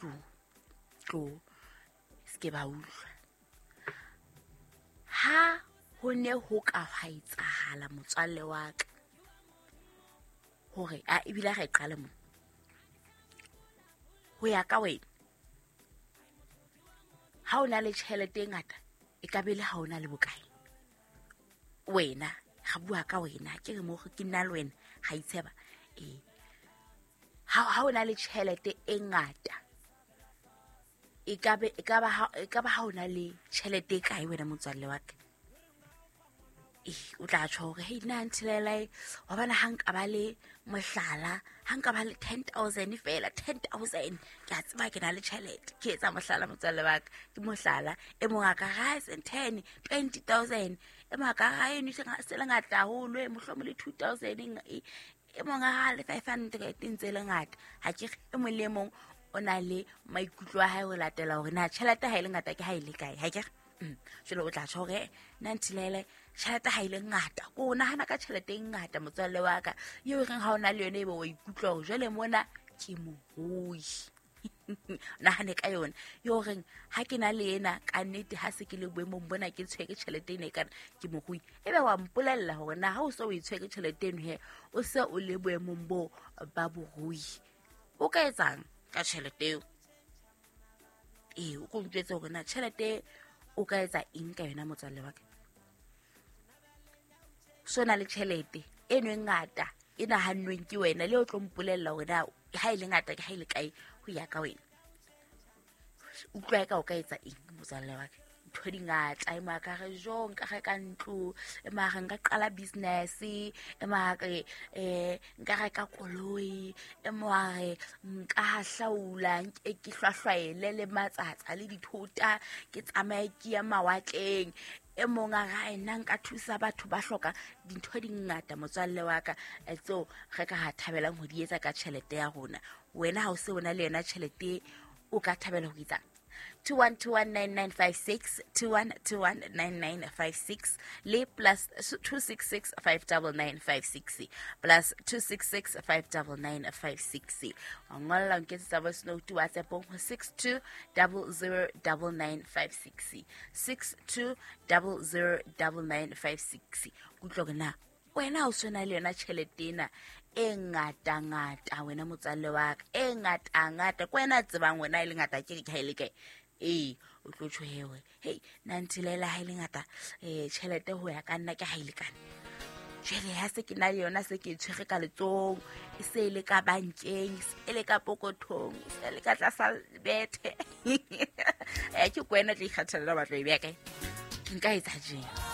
Tlo tlo se ke ba utlwa. Ha ho ne ho ka hwa etsahala motswalle wa ka hore a ebile a re qale mo ho ya ka wena, ha o na le tjhelete e ngata e ka be le ha o na le bokae? Wena ga bua ka wena, ke re mo ke nna le wena ga itsheba. Ee, ha o na le tjhelete e ngata e ka be e ka ba ha e ka ba ha o na le tjhelete e kae wena motswalle wa ka? Ee, o tla tjho hore hei nna nthilelae wa bona, ha nka ba le mohlala, ha nka ba le 10,000 fela, 10,000 ke a tseba ke na le tjhelete. Ke etsa mohlala motswalle wa ka, ke mohlala. E mong a ka ra e seng 10, 20,000, e mong a ka ra eno se le ngata haholo, e mohlomong le 2,000, e mong a ra le 500 ntse e le ngata. Ha ke re e mong le e mong o na le maikutlo a hae ho latela hore na tjhelete ha e le ngata ke ha e le kae. Ha ke re jwale o tla tjho hore nna nthilele tjhelete ha e le ngata, ko o nahana ka tjhelete e ngata motswalle wa ka, eo e reng ha o na le yone ebe wa ikutlwa hore jwale mona ke morui. Nahane ka yona yo reng ha ke na le ena ka nnete, ha se ke le boemong bona ke tshwere tjhelete ena e kana ke morui, ebe wa mpolella hore na ha o se o e tshwere tjhelete eno he o se o le boemong bo ba borui, o ka etsang ka tjhelete eo? Ee, o ko ntjwetse hore na tjhelete o ka etsa eng ka yona motswalle wa ka. So na le tjhelete eno e ngata e nahannweng ke wena, le o tlo mpolella hore na ha e le ngata ke ha e le kae ho ya ka wena. Utlwa e ka o ka etsa eng motswalle wa ka? Ntho di ngata, e mo ka re jo nka reka ntlo, e mo re nka qala business, e mo re nka reka koloi, e mo re nka hahlaula nke ke hlwahlwaele le matsatsa le dithota, ke tsamaye ke ya mawatleng. E mong a re nna nka thusa batho ba hloka dintho di ngata motswalle wa ka, tseo re ka ha thabelang ho di etsa ka tjhelete ya rona. Wena ha o se o na le yona tjhelete, o ka thabela ho etsang? 21219956, 21219956 le plus 266 59956, plus 266 59956. Wa ngolla nketsetsa voice note WhatsAppong ho 62009956, 62009956. Kutlwa hore na wena o sena le yona tjhelete ena e ngata-ngata wena motswalle wa ka, e ngata-ngata ke wena a tsebang wena e le ngata ke re ha e le kae. Ee, o tlo tjho hewe hei nna nthilela ha e le ngata tjhelete ho ya ka nna ke ha e lekane. Jwale ha se ke na le yona, se ke e tshwere ka letsohong, e se e le ka bankeng, e se e le ka pokothong, e se e le ka tlasa bethe. Ke kwena tla ikgathalla batlo e beha kae. Nka etsa jeng?